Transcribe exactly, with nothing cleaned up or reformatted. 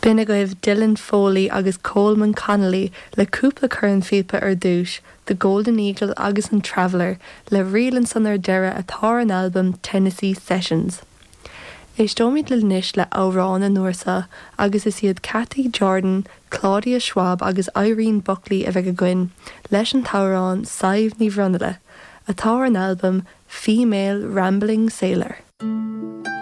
B'in agaibh Dylan Foley agus Coleman Connolly le cúpla cornphíopa ar dtús, The Golden Eagle agus an Traveller le ríl ansan ar deireadh atá ar an albam Tennessee Sessions. Éisteoimid anois le amhrán an uair seo agus is iad Cathy Jordan, Claudia Schwab agus Irene Buckley a bheidh againn leis an t-amhrán Sadhbh Ní Bhronaile, atá ar an albam Female Rambling Sailor.